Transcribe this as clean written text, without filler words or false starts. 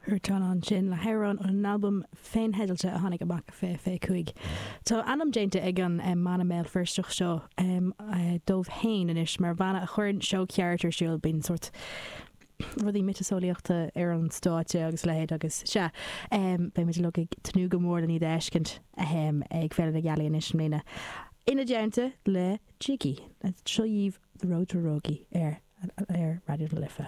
Huartan ansin le hamhrán ón albam féintheidealta a tháinig amach i 2025. Tá ainm déanta ag an mbanna Béal Feirsteach seo dóibh féin anois mar bhanna a chuireann seó ceart ar siúl. Bíonn sórt rudaí miotaseolaíochta ar an stáitse agus a leithéid agus sea, beidh muid uilig ag tnúth go mór len iad a fheiscint ag Féile na Gealaí anois i mbliana. Ina dteannta le Jiggy. Seo dhaoibh The Road to Rogie ar ar Raidió na Life.